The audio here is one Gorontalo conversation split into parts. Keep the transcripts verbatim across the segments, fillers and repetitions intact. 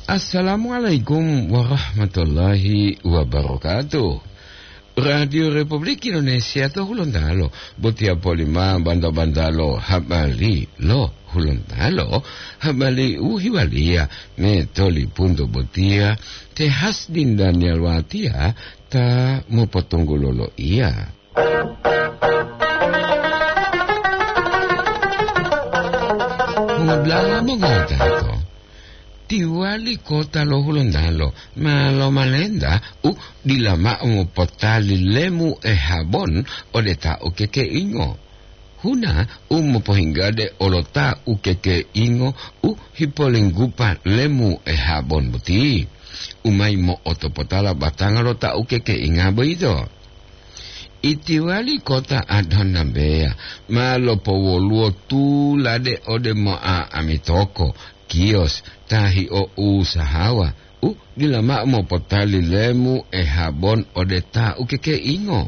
Assalamualaikum warahmatullahi wabarakatuh. Radio Republik Indonesia to Hulontalo, botiya polima banta-bantalo habari lo Hulontalo, habari u hiwaliya metoli punto botiya, te Hasdin Daniel Watiya ta mopotunggulo lo iya. Mongodula'a mongowutato, tiwali kota lo Hulontalo ma lomalenta u dila mao mopotali lemu e habon ode ta ukekeingo. Huna u mopohinggade olo ta ukekeingo u hipolinggupa lemu e habon boti, u mayi mo'otopotala batanga lo ta ukekeinga boyito. Itiwali kota Adhonambeya ma lopowoluwo tulade ode mo'a'amitoko, kiyos, ta hio'usahawa u dila mao mopotali lemu e habon ode ta ukekeingo.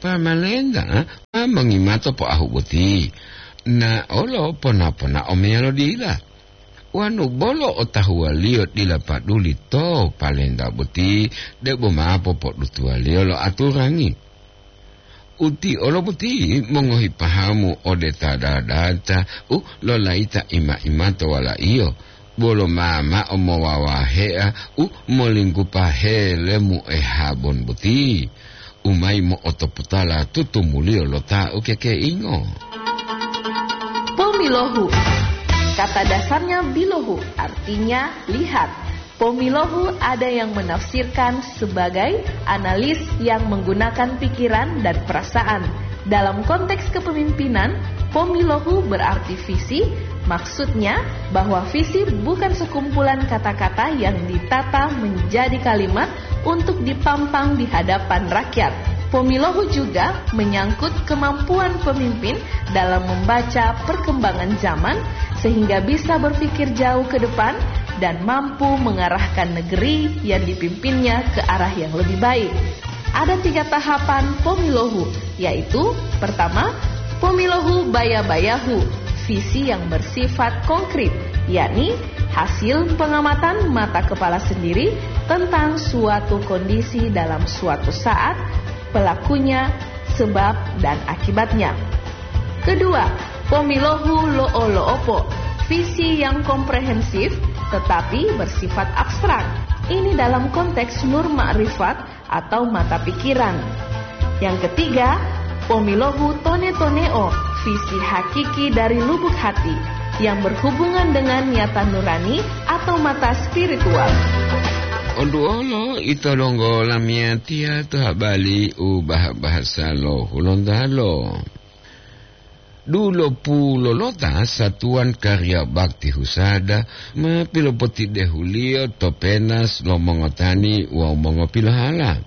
Pamalenta ma mongimato poahu boti, na olo pona-ponao meyalo dila. Wanu bolo otahuwaliyo dila paduli to palenta boti, debo ma popodutuwaliyo lo aturangi. Uti olo boti mongohi pahamu ode ta dadata u lolayita ima-ima to walaiyo, bolo ma mao mowawahea u molinggupa helemu e habon boti, u mayi mo'otopotala tutumuliyo lo ta ukekeingo. Pomilohu. Kata dasarnya bilohu, artinya lihat. Pomilohu ada yang menafsirkan sebagai analis yang menggunakan pikiran dan perasaan. Dalam konteks kepemimpinan, pomilohu berarti visi, maksudnya bahwa visi bukan sekumpulan kata-kata yang ditata menjadi kalimat untuk dipampang di hadapan rakyat. Pomilohu juga menyangkut kemampuan pemimpin dalam membaca perkembangan zaman sehingga bisa berpikir jauh ke depan dan mampu mengarahkan negeri yang dipimpinnya ke arah yang lebih baik. Ada tiga tahapan pomilohu, yaitu pertama, pomilohu baya-bayahu, visi yang bersifat konkret, yakni hasil pengamatan mata kepala sendiri tentang suatu kondisi dalam suatu saat, pelakunya, sebab, dan akibatnya. Kedua, pomilohu lo'o-lo'opo, visi yang komprehensif tetapi bersifat abstrak. Ini dalam konteks nur ma'rifat atau mata pikiran. Yang ketiga, pomilohu tone-toneo, visi hakiki dari lubuk hati yang berhubungan dengan nyata nurani atau mata spiritual. Onduolo ito donggo lamiyatiya to habari u bah-bahasa lo Hulontalo. Dulopulolota satuwan kariya bakti husada ma pilopotidehuliyo to penas lo mongotani wawu mongopilohala.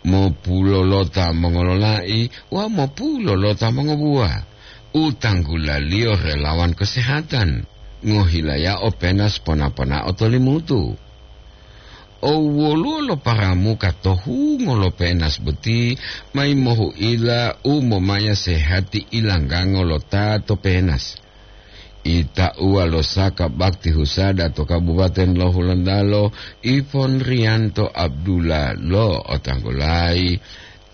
Mopulolota mongololai wawu mopulolota mongobuwa. U tanggulaliyo relawan kesehatan, ngohilayao penas pona-ponao to limutu. O woluwo lo paramuka to hungo lo penas boti, mayi mohu'ila u momaya sehati ilanggango lo ta to penas. Itauwa lo saka bakti husada to Kabupaten lo Hulontalo, Ipon Riyanto Abdullah lo Otanggolayi,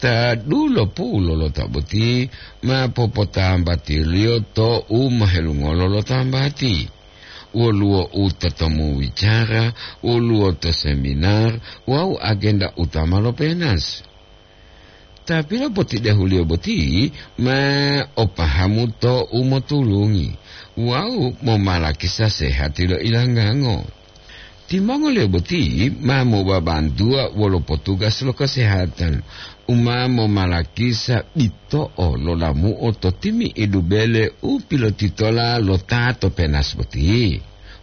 ta dulopulolota boti ma popotambatiliyo to u mohelungolo lo tambati. Woluwo u totomu wicara, woluwo to seminar wawu agenda utama lo penas. Ta pilopotidehuliyo boti ma o pahamu to u motulungi wawu momalakisa sehati lo ilanggango. Timongoliyo boti ma mobabantuwa wolo potugas lo kesehatan u ma momalakisa bito'o lo lamu'o to timi'idu bele u pilotitola lo ta to penas boti.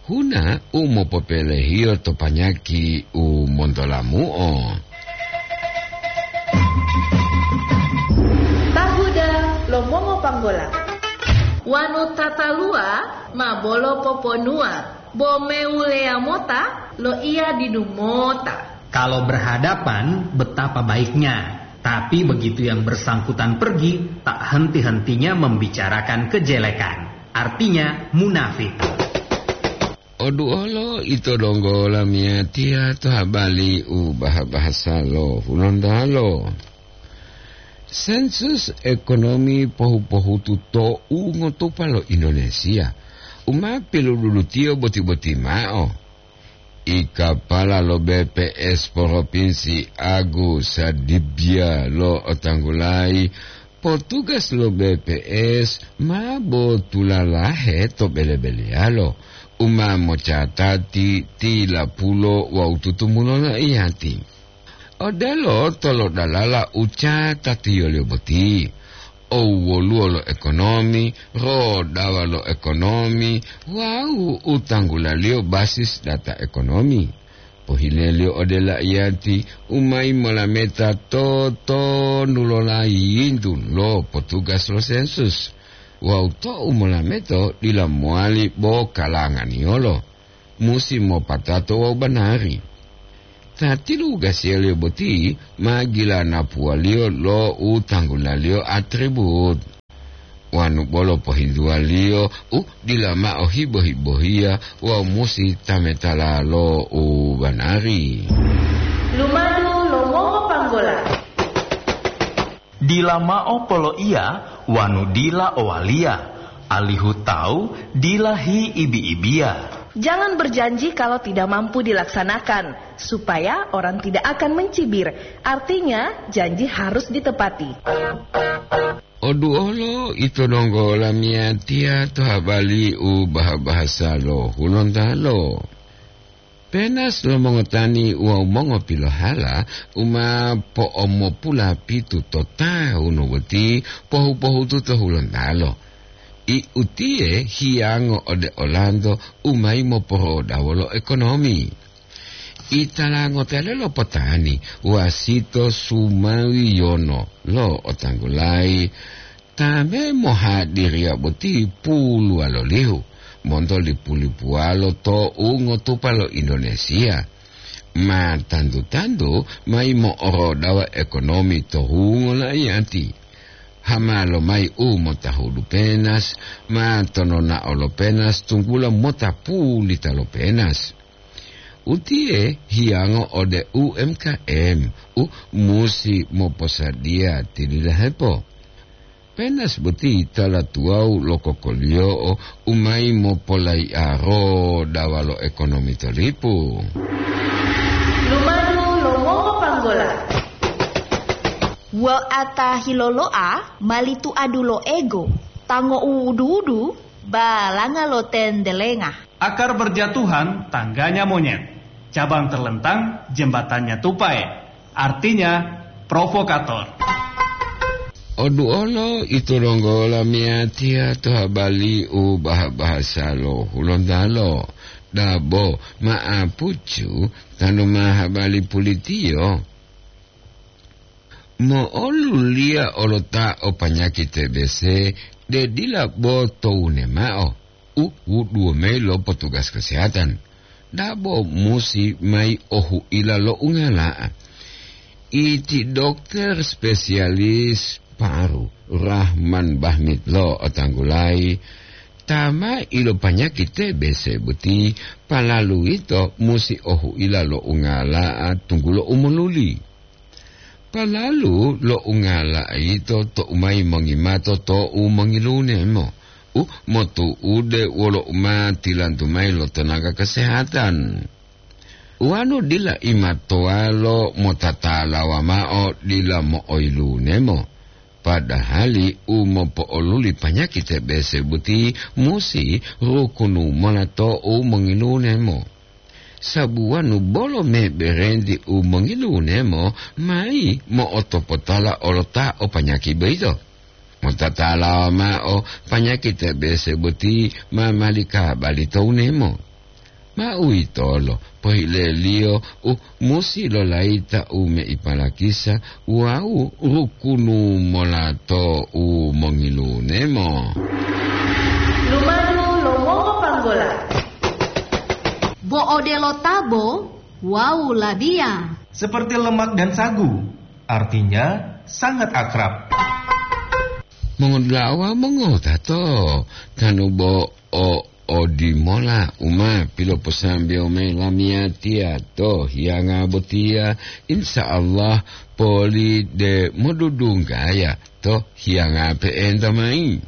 Huna u mopopelehiyo to panyaki u montolamu'o. Tahuda lo mongopanggola. Wanu tataluwa ma bolo poponuwa, bo mewuleya mota loiya didu mota. Kalau berhadapan, betapa baiknya. Tapi begitu yang bersangkutan pergi, tak henti-hentinya membicarakan kejelekan. Artinya, munafik. Oduolo ito donggo lamiyatiya to habali u baha-bahasa lo Hulontalo. Sensus ekonomi pohu-pohutu to ungotupa lo Indonesia, u ma pilududutiyo boti-boti mao. I kapala lo B P S Propinsi Agus Sadibia lo otanggulayi, potugas lo B P S ma botulalahe to bele-beleyalo, u ma mocatati tilapulo wawu tutumulo loiyati. Odelo tolodalala u catatiyoliyo boti, owoluwo lo ekonomi, rodawa lo ekonomi, wawu u tanggulaliyo basis data ekonomi. Pohileliyo ode laiyati u mayi molameta to tonu lo layintu lo potugas lo sensus, wawu tou molameto dila mowali bo kalanganiyolo, musi mopatato wawu banari. Ta tilugasiyaliyo boti ma gilanapuwaliyo lo u tanggulaliyo atribut. Wanu bolo pohintuwaliyo u dila mao hibo-hibohiya wawu musi tametala lo u banari. Lumadu lo mongopanggola. Dila mao poloiya wanu dila owaliya, alihu tawu dila hiibi-ibiya. Jangan berjanji kalau tidak mampu dilaksanakan, supaya orang tidak akan mencibir. Artinya, janji harus ditepati. Oduolo ito donggo lamiyatiya to habali u baha-bahasa lo Hulontalo. Penas lo mongotani wawu mongopilohala u ma po'omopulapitu to tawunu boti pohu-pohutu to Hulontalo. I utiye hiyango ode olanto u mayi moporodawo lo ekonomi. Italango tele lo potani wasito sumawiyono lo otanggulayi, ta me mohadiriya boti puluwalolihu monto lipu-lipuwalo to ungotupa lo Indonesia. Ma tantu-tantu mayi mo'orodawa ekonomi to hungo laiyati. Hama lomayi u motahudu penas, ma tononao lo penas tunggulo mota pulita lo penas. Utiye hiyango ode U M K M u musi moposadiya tilidahepo. Penas boti tala tuwawu lo kokoliyo'o u mayi mopolayi'aro dawa lo ekonomi to lipu. Lumadu lo mongopanggola. Wo'ata hilolo'a mali tuadu lo ego, tango u wudu-wudu, balanga lo tendelenga. Akar berjatuhan tangganya monyet, cabang terlentang jembatannya tupai, artinya provokator. Oduolo ito donggo lamiyatiya to habali u baha-bahasa lo Hulontalo, dabo ma'apucu tanu ma habali pulitiyo. Mo'oluliya olota o panyaki T B C de dila bo towune mao u wuduwo mayi lo potugas kesehatan, dabo musi mayi ohuila lo ungala'a. Iti dokter spesialis paru Rahman Bahmit lo otanggulayi, ta ma ilopanyaki T B C boti palalu ito musi ohuila lo ungala'a tunggulo u moluli. Palalu lo ungala'a yito to'u mayi mongimato to'u mongilunemo, u motu'ude wolo u ma tilantu mayi lo tenaga kesehatan. Wanu dila imatowalo motatalawa mao dila mo'oyilunemo, padahali u mopo'oluli panyaki T B C boti musi rukunu mola to'u mongilunemo. Sabuwanu bolo meberenti u mongilunemo mayi mo'otopotala olota o panyaki boyito. Motatalawa mao panyaki T B C boti ma mali kabali to unemo. Ma uwitolo pohileliyo u musi lolayita u meipalakisa wawu rukunu mola to u mongilunemo. Lumadu lo mongopanggola. Bo odelo tabo wawu labiya. Seperti lemak dan sagu, artinya sangat akrab. Mongodula'a wawu mongotato, tanu bo o Odimola u ma piloposambewo mayi lamiyatiya to hiyanga botiya, insya Allah poli de modudunggaya to hiyanga pe'enta mayi.